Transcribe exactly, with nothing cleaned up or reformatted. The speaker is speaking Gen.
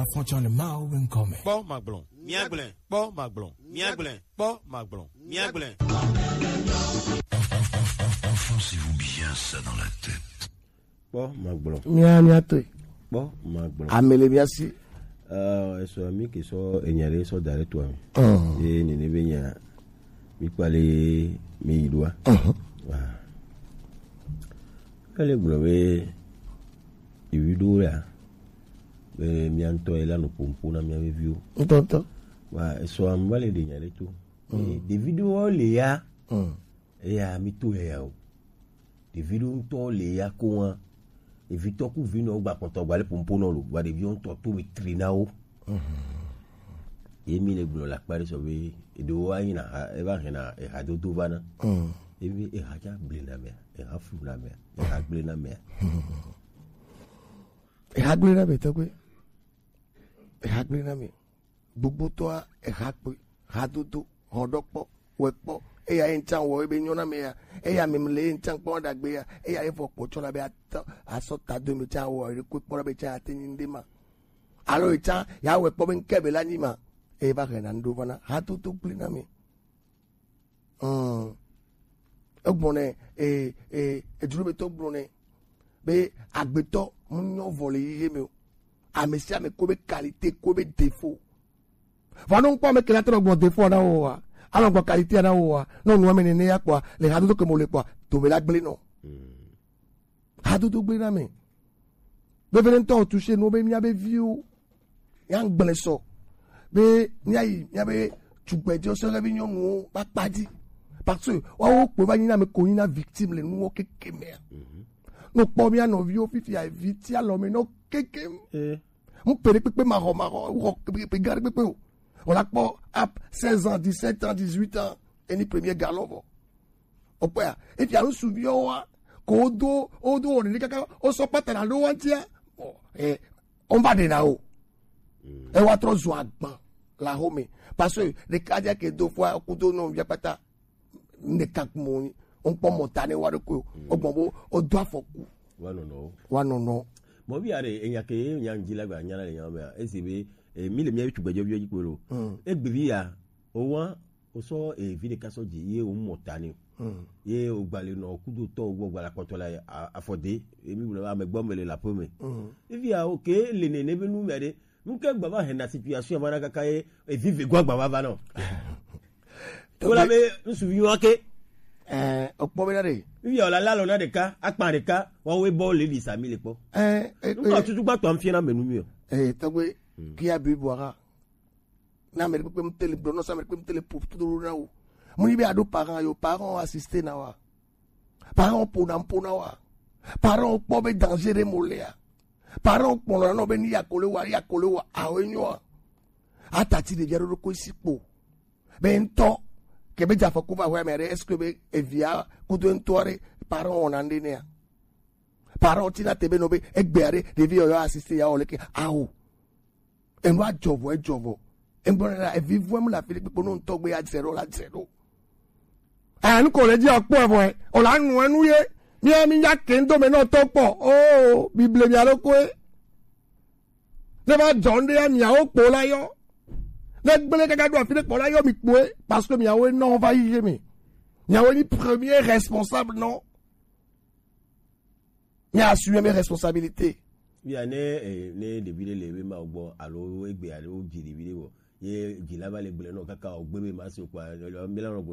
Afɔtsɔ le Mawu be ŋkɔ me. Kpɔ magblɔ, míagblẽ. Kpɔ magblɔ, míagblẽ. Kpɔ magblɔ, míagblẽ. Enfoncez-vous bien ça dans la tête. Kpɔ magblɔ. Mía, mía toe. Kpɔ magblɔ. Ame le mía si. Euh, esɔ mi ke sɔ enya ɖe sɔ da ɖe toa me. Mm. Ye nene be nya mi kpale mi yi ɖoa. Mhm. Wa. Ele gblɔ be evi ɖo ya. Be mía ŋutɔ ye la nɔ ƒom ƒo na mía veviwo. Ŋutɔŋutɔ. Wa, esɔ am va le ɖe nya ɖe to. Mm. Eh, ɖevi ɖewo le ya. Mm. Eya mi to ya o. Ɖevi ɖewo ŋutɔ le ya ko wa. Evitɔ ku vinɔ gba kpɔtɔ gba le ƒom ƒo nɔ lo. Wa ɖeviwo ŋutɔ to mi tri na wo. Mhm. Ye mi le gblɔ le akpa ɖe sɔ be eɖewo anyi na ha, eva hɛn na ehadodo va na. Mm. Ye mi eha tsa gble na mea, eha flu na mea, eha gble na mea. Eha gble na mea tɔgbe. Eha gble na mea. Gbogbotɔa eha kpe, hadodo, hɔɖɔkpɔ, wɛkpɔ. Eya ye ŋtsa wɔ ebe nyɔ na mea. Eya mem le ye ŋtsa kpɔ ɖagbe ya. Eya ye vɔ kpɔ tsɔ na be atɔ asɔ ta do me tsa wɔ ere kpe kpɔ na be tsa ate nyi ŋɖe ma. Alo etsã ya wɛ kpɔ be ŋkɛ be la nyi ma. Eye va hɛna ŋɖo va na hadodo gblẽ na mi. Mm. Egblɔ nɛ, e, e, edzro be tɔ gblɔ nɛ be agbetɔ mu nyɔ vɔ le yiye me o. Ame sia ame ko be qualité ko be défaut. Vɔ no ŋkpɔ ame kele atɔ gbɔ défaut na wo wa. Alɔ gbɔ qualité na wo wa. No nu ame nene ya kpɔ le hadodo ke mo le kpɔ. To be la gblẽ nɔ. Hadodo gblẽ na mi. Be vele ŋutɔ o touché nuwo be míabe viwo. Míagblẽ sɔ. Be míayi míabe tugbedzewo sɔhɛvi nyɔnuwo ƒe akpa dzi. Parce que woawo kpoe va nyi na ame ko nyi na victime le nuwo keke mea. Mhm. No kpɔ mía nɔviwo fifia vi ti alɔ me nɔ keke. Eh. Ŋpe ɖe kpekpe maxɔ maxɔ xɔ kpekpe gã ɖe kpekpe o. Wòla kpɔ ap seize ans, dix-sept ans, dix-huit ans. Eni premier galon vɔ. Okpɔa, efia ŋsuviwo wa, ko wodo, wodo wɔne ɖe kaka, wosɔ kpata na ɖo wantia. Ɔ, eh, on va de na o. Mm. E wa trɔ zu agban la home. Parce que ɖeka dia ke do fua kudo no via kpata. Ɖeka mo, on kpɔ mɔ ta ne wa ɖo ko. Mm. Ogbɔn bo, o do afɔku. Wa nɔnɔ. Wa nɔnɔ. Mɔ bi are, enya ke, enya ŋdzi la gba, nya la le nya mea. Ezi be, eh, mi le mía tugbedzeviwo dzi kpo lo. Mm. Egbe vi ya, o wa, o sɔ, eh, vi ɖeka sɔ dzi, ye o mɔ ta ni. Mm. Ye o gba le nɔ kudo tɔ, o gbɔ gba la kpɔtɔ la, a, afɔ de, emi wula ame gbɔ me le la ƒe me. Mm. Evi ya, o ke le nene be nu mea ɖe, nu ke gba va hena situation ma na kaka ye, evi ve gwa gba va va nɔ. Wala be ŋsuvi wa ke. Eh, o kpɔ be na ɖe. Evi ya o la la lɔ na ɖeka, akpa ɖeka, wa wo bɔ le di sa mi le kpɔ. Eh, eh, nu ma eh. Tutu gba tɔ am fie na me nu mi o. Eh, tɔgbe, mm. Kia bi bɔra. Na ame ɖekpekpe ŋtele gblɔ nɔ sa ame ɖekpekpe ŋtele ƒo to ɖo na wo. Mu yi be aɖo parent yo, parent assisté na wa. Parent ƒona ƒona wa. Parent kpɔ be danger ɖe mo lea. Parent kpɔna nɔ be ni ya kole wa, ya kole wa, awo enyo wa. Atati ɖevia ɖo ɖokui si kpo. Be ŋtɔ, ke be dze afɔku va hwɛ me ɖe, est-ce que be evia kudo ŋtɔ ɖe parent wɔna ŋɖe nea? Parent tina te be no be egbea ɖe ɖevi yɔyɔ assisté ya wɔ leke awo. Enu adzɔ vɔ, edzɔ vɔ. Egblɔ na evi vɔ mu la fi kpekpe no ŋtɔ gbe ya dzre ɖo la dzre ɖo. Enu ko le dzi akpɔ vɔ, o la nu enu ye. Mi mi ya ke ndo me no to kpɔ. Oh, Bible mi alo ko e. Ne va dzɔ ŋɖe ya miawo kpo la yɔ. Ne gblẽ kaka ɖo afi ɖe kpɔ la yɔ mi kpoe, parce que miawo nɔ va yi ye me. Miawo ni premier responsable nɔ. Mi assume mes responsabilités. Via ne, eh, ne ɖevi ɖe le ebe ma gbɔ alo egbe alo dzi ɖevi ɖe vɔ. Ye dzi la va le gblẽ nɔ kaka o gbe be ma se o kpa, mi la nɔ